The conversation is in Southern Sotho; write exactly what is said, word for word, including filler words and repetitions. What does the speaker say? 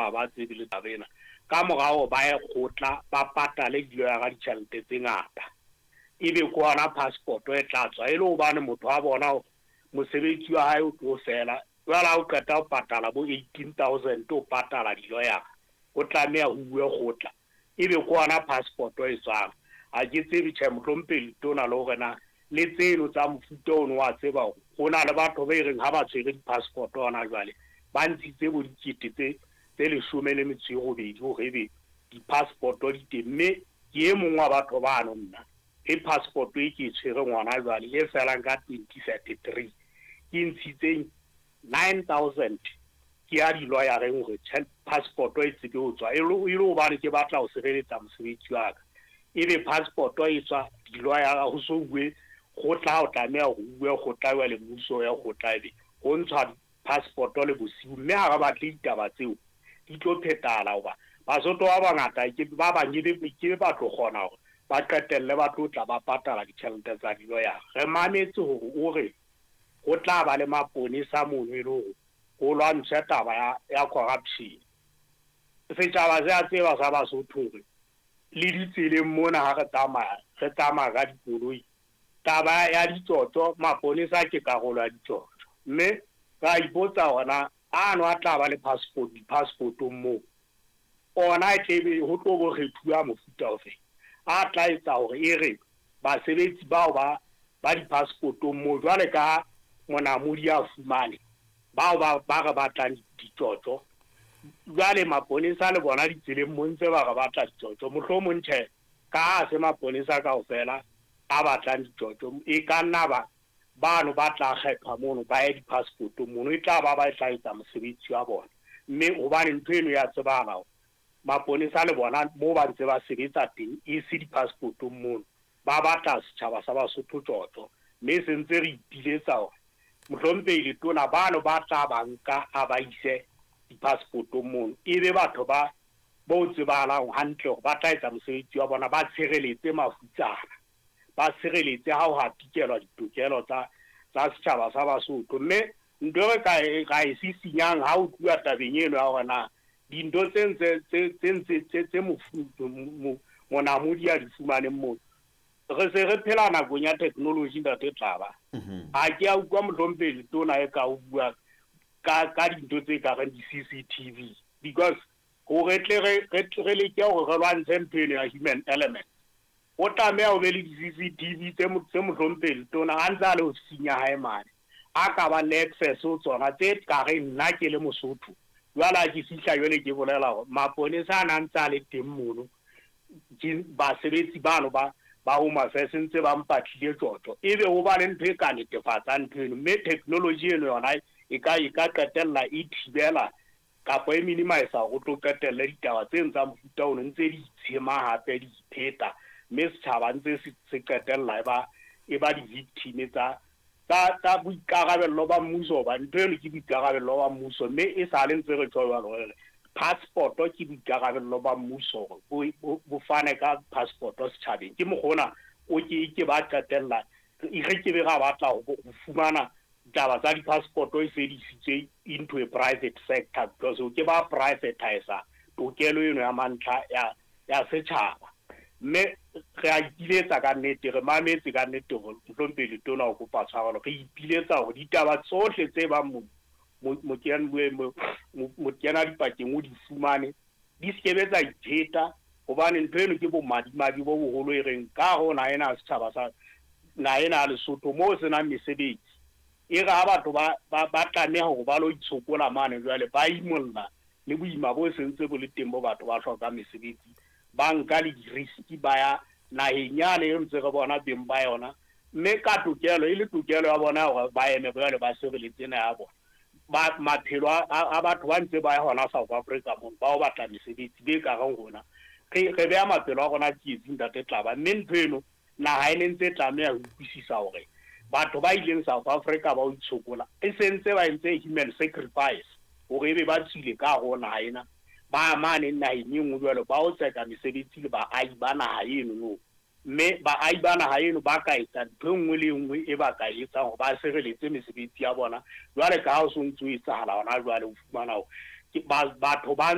Ha ba tsebe le taba ena. Ka morao ba ye kgotla, ba patale diloyara ditjhelete tse ngata, ebe ke hona passport e tla tswa, e le hobane motho wa bona hore mosebetsi wa hae o tlo fela. Jwale ha o qeta ho patala bo eighteen thousand, o patala diloyara, o tlameha ho uwe kgotla, ebe ke hona passport e tswang. Ha ke tsebe tjhe, mohlomphehi letona, le hore na le tseno tsa mofuta ono wa tseba hore ho na le batho ba e reng ha ba tshwere di-passport hona jwale, ba ntshitse bo dikete tse tse leshome le metso e robedi hore ebe di-passport di teng. Mme ke e mong wa batho bano nna e passport e ke e tshwereng hona jwale e felang ka twenty thirty three, ke ntshitseng nine thousand ke ya di-lawyer-eng hore passport e tsebe ho tswa, e le hobane ke batla ho sireletsa mosebetsi wa ka. Ebe passport e tswa di-lawyer ho so uwe kgotla, o tlameha hore uwe kgotla jwale, mmuso ya kgotla, ebe ho ntshwa passport le bosiu. Mme ha re batle ditaba tseo di tlo phetahala, hoba Basotho ba bangata ke ba bang ke ke ba tlo kgona hore ba qetelle ba tlo tla ba patala ditjhelete tsa di-lawyer. Re mametse hore o re ho tla ba le maponesa mono e le hore ho lwantshwe taba ya ya corruption. Setjhaba se a tseba sa Basotho hore le ditseleng mona ha re tsamaya, re tsamaya ka dikoloi, taba ya ditsotso, maponesa ke karolo ya ditsotso. Mme ra ipotsa hore na ano a tla ba le passport di-passport-ong moo, ona e tlebe ho tlo bo kgethuwa mofuta ofe a tla etsa hore e re basebetsi bao ba ba di-passport-ong moo, jwale ka monamodi a fumane bao ba ba re batlang ditsotso, jwale maponesa le bona ditseleng mo ntse ba re batla ditsotso. Mohlomong tjhe, ka ha se maponesa kaofela a batlang ditsotso, e ka nna ba bano ba tla kgethwa mono ba ye di-passport-ong mono, e tla ba ba tla etsa mosebetsi wa bona. Mme hobane ntho eno ya tsebahala hore maponesa le bona moo ba ntse ba sebetsa teng, e se di-passport-ong mono, ba batla setjhaba sa Basotho tjotjo. Mme se ntse re ipiletsa hore mohlomphehi letona bano ba tla ba nka a ba ise di-passport-ong mono, ebe batho ba bo tsebahalang hantle hore ba tla etsa mosebetsi wa bona, ba tshireletse mafutsana, ba tshireletse ha ho hatikelwa ditokelo tsa tsa setjhaba sa Basotho. Mme ntho e re ka e ra e sisinyang ha ho tluwa tabeng eno ya hore na dintho tse ntse tse tse ntse tse tse monamodi a di fumaneng mono, re se re phela nakong ya technology, ntate Tlaba. Ha ke a utlwa mohlomphehi letona e ka o bua ka ka dintho tse ka reng di-C C T V, because hore tle re re leke hore re lwantshe ntho eno ya human element, o tlameha ho be le di-C C T V tse tse mohlomphehi letona a ntse a le ofising ya hae mane, a ka bang le access ho tsona, tse ka reng nna ke le Mosotho jwale ha ke fihla jwale ke bolela hore maponesa a na ntse a le teng mono, ke basebetsi bano ba ba Home Affairs ntse ba mpatlile tjotjo, ebe ho ba le ntho e ka netefatsang ntho eno. Mme technology eno yona e ka e ka qetella e thibela kapa e minimize hore o tlo qetelle ditaba tse tsa mofuta ono ntse di itshema hape di ipheta, mme setjhaba ntse se qetella e ba e ba di-victim tsa tsa tsa boikarabello ba mmuso, hoba ntho eno ke boikarabello ba mmuso. Mme e sale ntse re tjho jwalo re passport ke boikarabello ba mmuso hore bo bo fane ka passport setjhabeng. Ke mokgwa ona o ke ke ba qetella re ke be ra batla ho fumana ditaba tsa di-passport e se di isitswe into a private sector, because o ke ba privatize tokelo eno ya mantlha ya ya setjhaba. Mme re a ipiletsa ka nnete, re mametse ka nnete hore mohlomphehi letona o kopa tshwarelo. Re ipiletsa hore ditaba tsohle tse bang mokena dipakeng o di fumane, di se tsa ipheta, hobane ntho eno ke bomadimabe bo boholo e reng ka hare ho naha ena ya setjhaba sa naha ena ya Lesotho moo se nang mesebetsi, e re ha batho ba ba ba tlameha hore ba lo itshokola mane jwale, ba imolla le boima bo sentse bo le teng bo batho ba hlokang mesebetsi, ba nka le di-risk ba ya naheng yane e ntse re bona beng ba yona. Mme ka tokelo e le tokelo ya bona hore ba eme jwale ba sireletse naha ya bona, ba maphelo a batho ba ntse ba ya hona South Africa mono ba o batla mesebetsi be ka reng rona re re beha maphelo a rona tsietsing, ntate Tlaba. Mme ntho eno naha e ne ntse tlameha ho utlwisisa hore batho ba ileng South Africa ba o itshokola e sentse ba entse human sacrifice hore ebe ba tswile ka hare ho naha ena, ba mane naheng e nngwe jwalo ba o tseka mesebetsi le baahi ba naha eno no. Mme baahi ba naha eno ba ka etsa ntho e nngwe le e nngwe e ba ka etsang hore ba sireletse mesebetsi ya bona, jwale ka ha o so ntso etsahala hona jwale. O fumana hore Ke batho ba